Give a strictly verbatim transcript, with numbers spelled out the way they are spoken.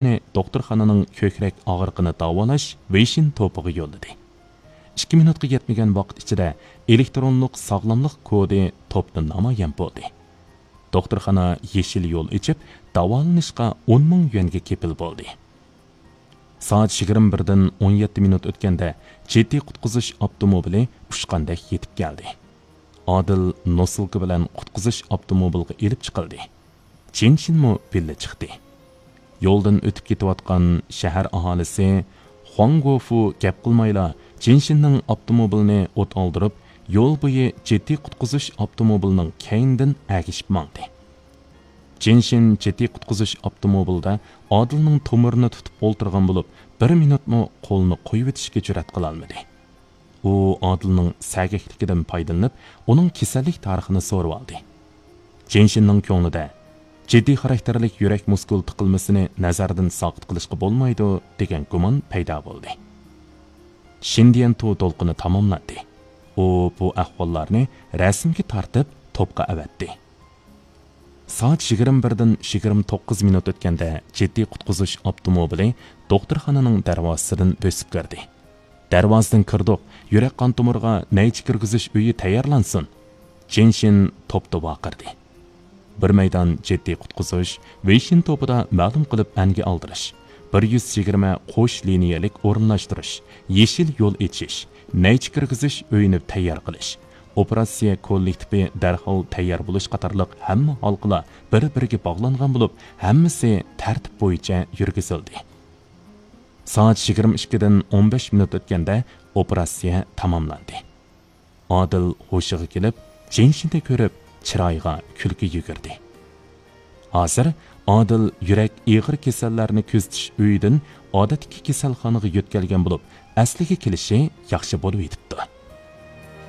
دوختۇرخانىنىڭ كۆكرەك ئاغرىقىنى داۋالاش ۋېيشىن توپىغا يوللىدى. ئىككى مىنۇتقا يەتمىگەن ۋاقىت ئىچىدە ئېلېكترونلۇق ساغلاملىق كودى توپتا نامايان بولدى. دوختۇرخانا يېشىل يول ئېچىپ، داۋالىنىشقا ئون مىڭ يۈەنگە كېپىل بولدى. سائەت يىگىرمە بىردىن ئون يەتتە مىنۇت ئۆتكەندە، جىددىي قۇتقۇزۇش ئاپتوموبىلى ئۇچقاندەك يېتىپ كەلدى. ئادىل نوسۇلكا بىلەن قۇتقۇزۇش ئاپتوموبىلغا ئېلىپ چىقىلدى. چېن شىنمۇ بىللە چىقتى. يولدىن ئۆتۈپ كېتىۋاتقان شەھەر ئاھالىسى خۇاڭ گوفۇ گەپ قىلمايلا، چېن شىننىڭ ئاپتوموبىلىنى ئوت ئالدۇرۇپ، يول بويى جىددىي قۇتقۇزۇش ئاپتوموبىلىنىڭ كەينىدىن ئەگىشىپ ماڭدى. چېن شىن جىددىي قۇتقۇزۇش ئاپتوموبىلىدا ئادىلنىڭ تومۇرىنى تۇتۇپ ئولتۇرغان بولۇپ، بىر مىنۇتمۇ قولىنى قويۇۋېتىشكە جۈرئەت قىلالمىدى. ئۇ ئادىلنىڭ سەگەكلىكىدىن پايدىلىنىپ، ئۇنىڭ كېسەللىك تارىخىنى سورىۋالدى. چېن شىننىڭ كۆڭلىدە، جىددىي خاراكتېرلىك يۈرەك مۇسكۇل تىقىلمىسىنى نەزەردىن ساقىت قىلىشقا بولمايدۇ، دېگەن گۇمان پەيدا بولدى. شىندىيەنتۇ دولقۇنى تاماملاندى. ئۇ بۇ ئەھۋاللارنى رەسىمگە تارتىپ، توپقا ئەۋەتتى. سائەت يىگىرمە بىردىن يىگىرمە توققۇز مىنۇت ئۆتكەندە، جىددىي قۇتقۇزۇش ئاپتوموبىلى دوختۇرخانىنىڭ دەرۋازىسىدىن بۆسۈپ كىردى. دەرۋازىدىن كىردۇق، يۈرەك قان تومۇرىغا نەيچە كىرگۈزۈش ئۆيى تەييارلانسۇن! چېن شىن توپتا ۋارقىرىدى. بىر مەيدان جىددىي قۇتقۇزۇش، ۋېيشىن توپىدا مەلۇم قىلىپ ئەنگە ئالدۇرۇش، بىر يۈز يىگىرمە قوش لىنىيەلىك ئورۇنلاشتۇرۇش، يېشىل يول ئېچىش، نەيچە كىرگۈزۈش ئۆيىنى تەييار قىلىش، ئوپېراتسىيە كوللېكتىپى دەرھال تەييار بولۇش قاتارلىق ھەممە ھالقىلار بىر-بىرىگە باغلانغان بولۇپ، ھەممىسى تەرتىپ بويىچە يۈرگۈزۈلدى. سائەت يىگىرمە ئىككىدىن ئون بەش مىنۇت ئۆتكەندە ئوپېراتسىيە تاماملاندى. ئادىل ھوشىغا كېلىپ، چېن شىننى كۆرۈپ، چىرايىغا كۈلكە يۈگۈردى. ھازىر ئادىل يۈرەك ئېغىر كېسەللەرنى كۆزىتىش ئۆيىدىن ئادەتتىكى كېسەلخانىغا يۆتكەلگەن بولۇپ، ئەسلىگە كېلىشى ياخشى بولۇۋېتىپتۇ.